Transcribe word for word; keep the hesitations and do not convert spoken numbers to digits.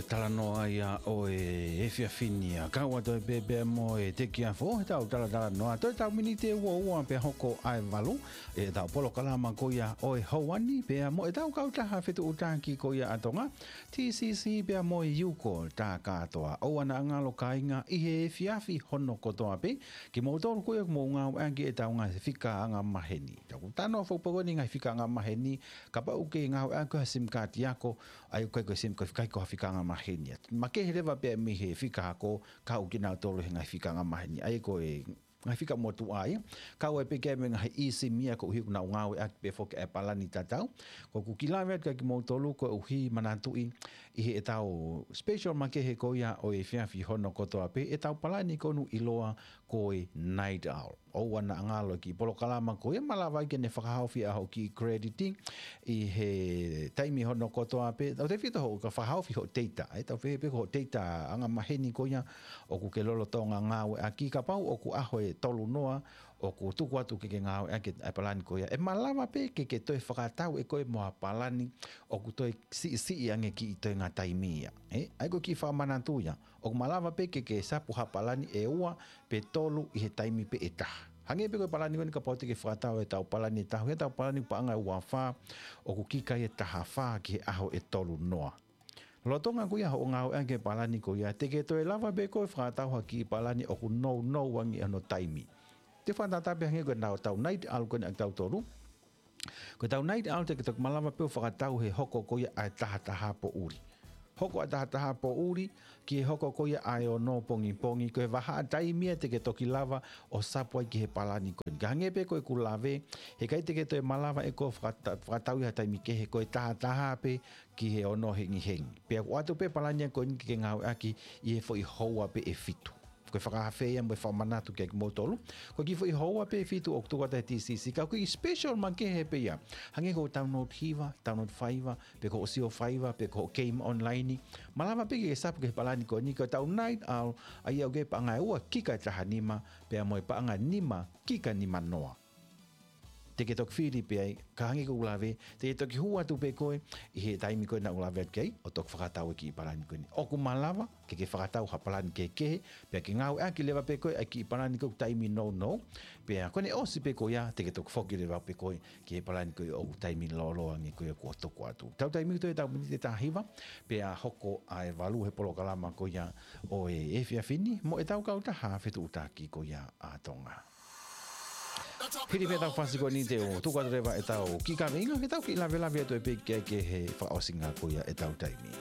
Talanoa ia ʻo e efiafi ni, ʻa kau atu ai pē pea mo e tekiafu he tau talatalanoa. Toe tau miniti ʻe ua ua pea hoko ʻa e valu ʻetau polokalama ko ia ʻo e houa ni pea mo ʻetau kautaha fetuʻutaki ko ia ʻa Tonga, T C C pea mo e Yuko tā kātoa. ʻOua naʻa ngalo kāinga ʻi he efiafi hono kotoa pē, kimoutolu ko ia ʻoku mou ngāueʻaki ʻetau ngaahi fika angamaheni. Tau talanoa foki pē ko eni ngaahi fika angamaheni, kapau ʻoku ke ngāueʻaki ha SIM card ako, ʻa ia ko e SIM, ko e fika, ko ha fika angamaheni ia. Makehe leva pē mei he fika ako, kau kinautolu he ngaahi fika angamaheni. ʻA ia ko e ngaahi fika motuʻa ia. Kau ai pē ki ai mo e ngaahi eSIM ia koeʻuhi ʻoku nau ngāueʻaki pē foki ʻa e palani tatau. Ko ʻeku kiʻi lave atu kia kimoutolu koeʻuhi manatuʻi ʻi heʻetau special makehe ko ia ʻo e efiafi hono kotoa pē, ʻetau palani ko eni ʻiloa ko e Night Owl. ʻOua naʻa ngalo e kiʻi polokalama ko ia, malava ai ke ne fakahaofi ʻa hoʻo kiʻi credit ʻi he taimi hono kotoa pē. Tautefito hoʻo, ka fakahaofi hoʻo data, ʻe tau pehē pē ko hoʻo data angamaheni ko ia ʻoku ke lolotonga ngāueʻaki, kapau ʻoku ʻaho ʻe tolu noa ʻoku tuku atu ke ke ngāueʻaki ʻa e palani ko ia, ʻe malava pē ke ke toe fakatau ʻe koe mo ha palani ʻoku toe siʻisiʻi ange kiʻi toenga taimi ia. ʻE, ʻa ia ko e kiʻi fakamanatu ia. ʻOku malava pē ke ke sapu ha palani ʻe ua pe tolu ʻi he taimi pē ʻe taha. Hangē pē ko e palani ko eni, kapau te ke fakatau ʻetau palani ʻe taha, ʻetau palani paʻanga ʻe ua fā, ʻoku kika ia ʻe taha fā ki he ʻaho ʻe tolu noa. Lolotonga ko ia hoʻo ngāueʻaki e palani ko ia, te ke toe lava pē koe ʻo fakatau ha kiʻi palani ʻoku nounou ange hono taimi. Te u fakatātā pē hangē ko ʻetau Night Owl ko eni ʻa kitautolu. Ko ʻetau Night Owl te ke toki malava pē ʻo fakatau he hoko ko ia ʻa e taha taha poʻuli. Hoko ʻa e taha taha poʻuli ki he hoko ko ia ʻa e ono pongipongi, ko e vahaʻa taimi ia te ke toki lava ʻo sapu ai ki he palani ko eni. Ka hangē pē ko ʻeku lave, heʻikai te ke toe malava ʻe koe ʻo fakata-, fakatau ʻi ha taimi kehe, ko e taha taha pē ki he ono hengihengi. Pea ʻoku ʻoatu pē palani ia ko eni ke ke ngāueʻaki ʻi he foʻi houa pē ʻe fitu. Ko e fakaafe ia mo e fakamanatu kia kimoutolu. Ko e kiʻi foʻi houa pē ʻe fitu ʻoku tuku atu ʻe he T C C, ka ko e kiʻi special makehe pē ia. Hangē ko hoʻo download hiva, download faiva, pe ko hoʻo sio faiva, pe ko hoʻo game online. Malava pē ke ke sapu ki he palani ko eni, ko ʻetau Night Owl, ʻa ia ʻoku kei paʻanga ʻe ua kika ʻe taha nima, pea mo e paʻanga ʻe nima kika nima noa. Te ke toki fili pē ai, ka hangē ko ʻeku lave, te ke toki hū atu pē koe ʻi he taimi ko ē naʻá ku lave atu ki ai, ʻo toki fakatau e kiʻi palani ko eni. ʻOku malava ke ke fakatau ha palani kehekehe, pea ke ngāueʻaki leva pē koe ʻa e kiʻi palani ko ē ʻoku taimi nounou, pea ko ʻene ʻosi pē ko ia, te ke toki foki leva pē koe ki he palani ko ē ʻoku taimi lōloa ange ko ia kuo tuku atu. Tau taimi ko ē ʻetau miniti ʻe taha hiva, pea hoko ʻa e valu he polokalama ko ia ʻo e efiafi ni, mo ʻetau kautaha fetuʻutaki ko ia ʻa Tonga. Hili pē ʻetau fasi ko eni te u tuku atu leva ʻetau kiʻi kaveinga, ke tau kiʻi lavelave atu ai pē ki ai ki he fakaʻosinga ko ia ʻetau taimi.